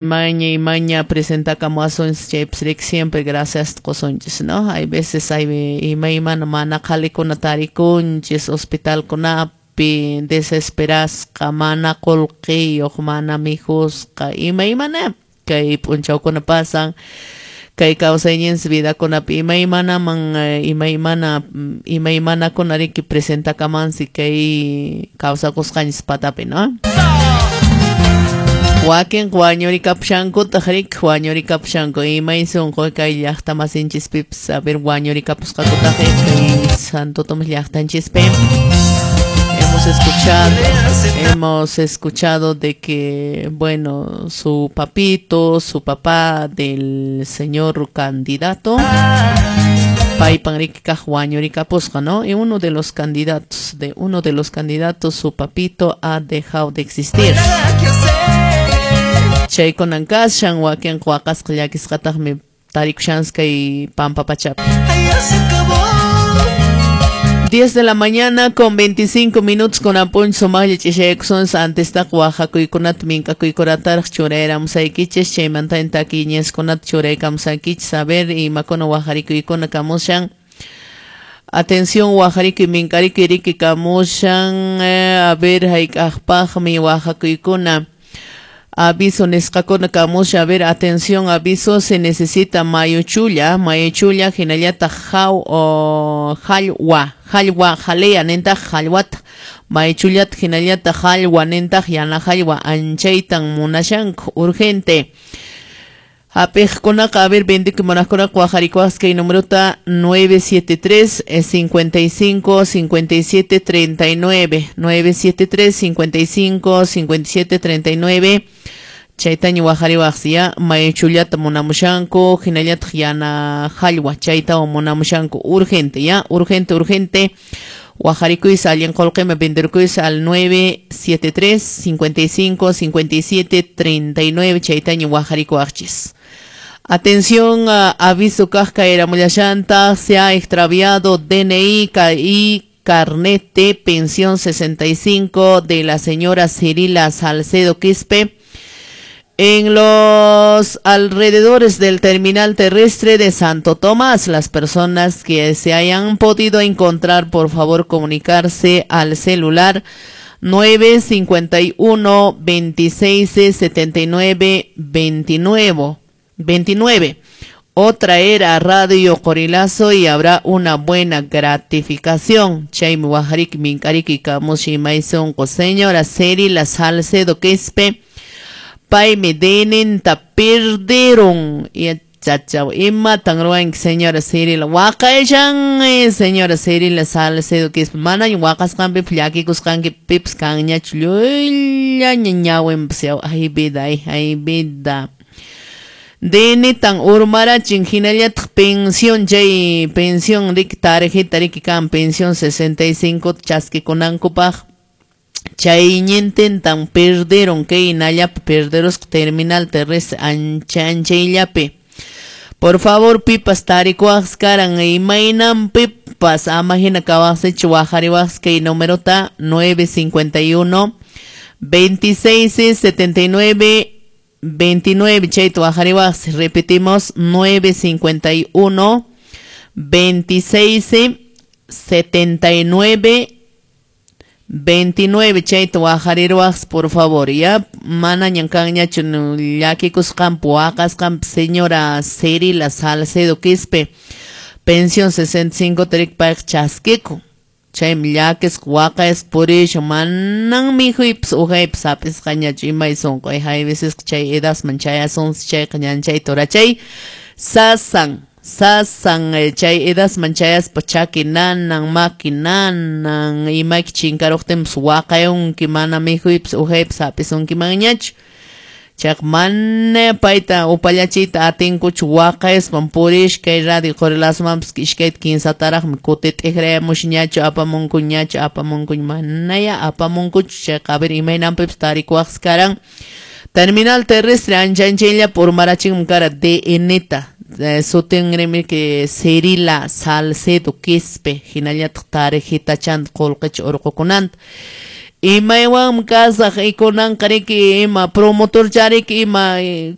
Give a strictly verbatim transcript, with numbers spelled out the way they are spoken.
Maña y maña presentakamuwasunchis chaypis riki siempre gracias qusunchis, ¿no? Hay veces hay imaymana mana qhalikuna tarikunchis hospitalkunapi desesperasqa mana qullqiyuq mana mikhusqa imaymana kay p'unchawkuna pasan kay kawsayninchis vidakunapi imaymanaman imaymana imaymanakuna riki presentakamansi kay kawsakusqanchis patapi, ¿no? Wakin wañurikapushankutaq riki wañurikapushanku imay sunqu kay llaqta masinchispipas a ver wañurikapusqakutaq kay Santo Tomás llaqtanchispi. Hemos escuchado, hemos escuchado de que, bueno, su papito, su papá del señor candidato paypan riki kaq wañurikapusqa, ¿no? Y uno de los candidatos, de uno de los candidatos, su papito ha dejado de existir. Chaykunan kashan wakin waqasqa llakisqataqmi tarikushansi kay pampa pachapi. diez de la mañana con veinticinco minutos con apunch sumaqlla ch'ishaykusunchis antistaqa waqakuykunata mink'akuykunataraq churayramusaykichis chaymanta takiñaskunata churaykamusaykichis a ver imakuna waqarikuykuna kamushan. Atención waqarikuy mink'arikuy riki kamushan eh, a ver hayk'aqpaqmi waqakuykuna. Aviso nisqakuna kamusha, a ver, atención, aviso, se necesita mayuchulla, mayuchulla, hinallataq jaw o jallwa, jallwa, jalea nintaq jallwata, mayuchullata hinallataq jallwa nintaq yana jallwa, anchaytan munashanku, urgente. Hap'iqkunaqa, a ver, vendikuy munaqkunaqa waqarikuwaqsi kay numerota nueve siete tres cincuenta y cinco cincuenta y siete treinta y nueve, nueve siete tres cincuenta y cinco cincuenta y siete treinta y nueve. Chaytaña waqariwaqsi ya, mayuchullata munamushanku, hinallataq yana jallwa, chaytawan munamushanku, urgente ya, urgente, urgente. Waqarikuysi allin qullqima venderkuysi al nueve siete tres cincuenta y cinco cincuenta y siete treinta y nueve, chaytaña waqarikuwaqchis. Atención, uh, aviso kaq kayramullashantaq, se ha extraviado D N I y carnet de pensión sesenta y cinco de la señora Cirila Salcedo Quispe en los alrededores del terminal terrestre de Santo Tomás. Las personas que se hayan podido encontrar, por favor, comunicarse al celular nueve cincuenta y uno veintiséis setenta y nueve veintinueve, veintinueve o traer a Radio Qorilazo y habrá una buena gratificación. Chaymi waqariki minkariki kamushi maysunqu señora Cirila Salcedo Quispe paymi D N Nta perdieron. Y chachaw imatan ruwanki señora Cirila waqayshan señora Cirila Salcedo Quispe manaña waqasqanpipas llakikusqankipipas kanñachu llullaña ñawinpas yaw ay vida ay, ay vida. D N tan urmarachin hinallataq pensión chay pensión riki tarjeta riki kan pensión sesenta y cinco chaskikunankupaq chay ñintintan perdieron kay nallapi perderusqa terminal terrestre ancha anchayllapi. Por favor pipas tarikuwaqsi karan imaynanpipas ama hina kawaqsichu waqariwaqsi kay numerota nueve cincuenta y uno veintiséis setenta y nueve veintinueve, chayta waqariwaqsi. Repetimos, nueve cincuenta y uno veintiséis setenta y nueve veintinueve, chayta waqariruwaqsi por favor, ya manañan kanñachu llakikusqanpi waqasqanpi señora Cirila Salcedo Quispe pensión sesenta y cinco tarik payqa chaskikun chaymi llakisqa waqayasqa purishan manan mikhuypas uhaypas hap'isqañachu imay sunqu hay veces chay edasman chayasunsi chayqa ñanchayta urachay sasan sasan chay edasman chayaspa chaki nanan maki nanan imayki chinkaruqtinpas waqayunki mana mikhuypas uhaypas hap'isunkimanñachu chayqa mana payta upallachiyta atinkuchu waqayaspan purish kay Radio Qorilazomanpas iskayta kinsataraqmi kuti t'ikrayamusñachu apamunkuñachu apamunkuña manaya apamunkuchu chayqa a ver imaynanpipas tarikuwaqsi karan. Terminal terrestre ancha anchayllapi urmarachinmi kara D N ta sutinrimi que Cirila Salcedo Quispe hinallataq tarjetachanta qullqicha urqukunanta. Imaywanmi kasaq, kunanqa riki, ima promotor chariki, ima